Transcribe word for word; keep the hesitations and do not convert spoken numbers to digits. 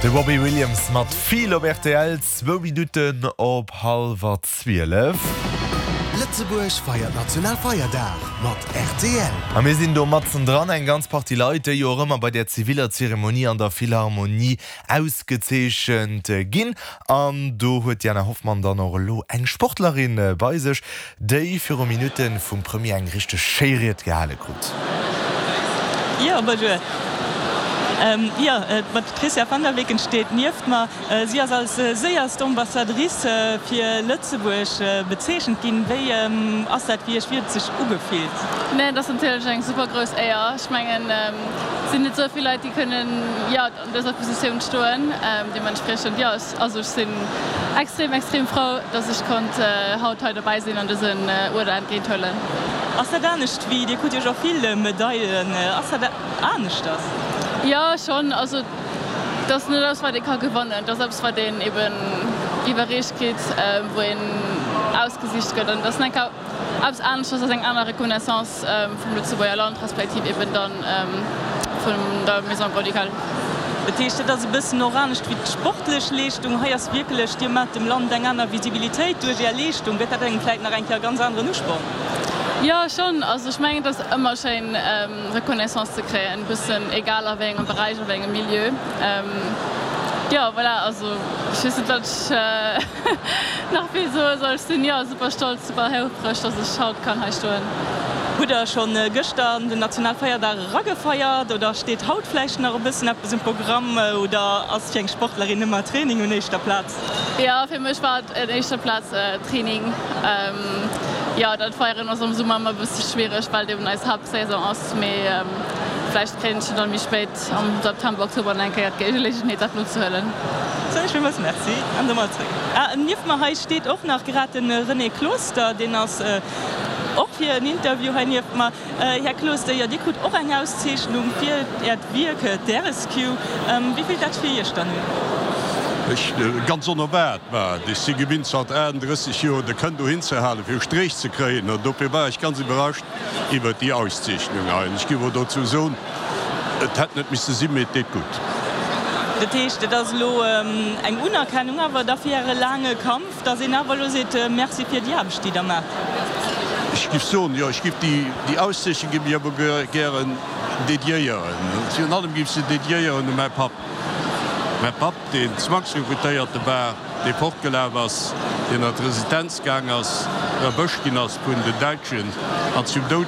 De Robbie Williams mat Feel op R T L, zwou Minutten op hallwer zwielef. Lëtzebuerg feiert Nationalfeierdag mat R T L. A mir sinn do matzen dran, eng ganz Partie Leit, déi jo och ëmmer bei der ziviler Zeremonie an der Philharmonie ausgezeechent ginn. An do huet Jana Hoffmann dann och elo eng Sportlerin bei sech, déi viru Minutte vum Premier eng richteg schéi Ried gehale krut. Jo, bonjour. Ähm, ja, äh, d'Patrizia van der Weken steet nieft mer. Äh, si ass als äh, séierst Ambassadrice äh, fir Lëtzebuerg äh, bezeechent ginn. Wéi ähm, ass dat fir Iech, wéi huet et sech ugefillt? Nee, dat ass natierlech eng super grouss Éier. Ech mengen ähm, sinn net sou vill Leit, déi kënnen, ja, an dëser Positioun stoen. Ähm, deementspriechend, ja, also ech sinn extrem extrem frou, dass ech konnt äh, haut hei dobäi sinn an dësen äh, Uerder entgéinthuelen. Ass dat anescht wéi, Dir krut jo scho vill Medailen, ass dat aneschters? Ja, schonn, also dat ass net eppes, wat ee ka gewannen, dat ass eppes, wat een eben iwwerreecht kritt, äh, wou een ausgesicht gëtt, an dat ass eng eppes aneschters als eng aner Reconnaissance ähm, vum Lëtzebuerger Land respektiv eben dann ähm, vun der Maison Grand-Ducale. Dat heescht, dat ass e bëssen och anescht wéi d'sportlech Leeschtung. Hei ass wierklech, Dir maacht dem Land eng aner Visibilitéit duerch Är Leeschtung. Gëtt dat engem vläicht nach eng Kéier ganz aneren Usporn? Ja, schonn. Also ech mengen, dat ass ëmmer schéin, ähm, Reconnaissance ze kréien, e bëssen egal a wéi engem Beräich, a wéi engem Milieu. Ähm, ja, voilà, also ech weess net, wat ech äh, nach vill soe soll. Ech sinn, ja, super stolz, super houfreg, dass ech haut kann hei stoen. Hutt Der schonn gëschter den Nationalfeierdag eragefeiert oder steet haut vläicht nach e bëssen eppes um Programm oder ass fir eng Sportlerin ëmmer Training un éischter Plaz? Ja, fir mech war et un éischter Plaz äh, Training. Ähm, ja, dat Feieren ass am Summer ëmmer e bësse schwiereg, well eben eis Haaptsaison ass. Mee ähm, vläicht kréien ech dann méi spéit am September, Oktober eng Kéier d'Geleeënheet, dat nozehuelen. Soen ech villmools Merci an da mol zréck. Ah, nieft mer hei steet och nach grad de René Closter, deen ass äh, och fir en Interview hei nieft mer. Äh, Här Closter, jo, Dir krut och eng Auszeechnung fir Äert Wierk d'R S Q. Ähm, wéi fillt dat fir Iech dann un? Ech, äh, ganz onerwaart war. Ech si gewinnt zanter achtendrësseg Joer de Kënn dohin ze halen, fir Stréch ze kréien. An dofir war ech ganz iwwerrascht iwwer déi Auszeechnung. Ech géif dozou soen, et hätt net misse sinn, mee et deet gutt. Dat heescht, dat ass elo ähm, eng Unerkennung awer da fir Äre laange Kampf, dass een awer elo seet, äh, Merci fir déi Aarbecht, déi Der maacht. Ech géif soen, jo, ech géif déi, déi Auszeechnung géif ech awer gären dediéieren. Virun allem géif ech se dediéieren u mäi Papp. Mäi Papp, deen Zwangsrekrutéierte war, dee fortgelaf ass, deen an d'Resistenz gaang ass, erwëscht ginn ass vun den Däitschen an zum Doud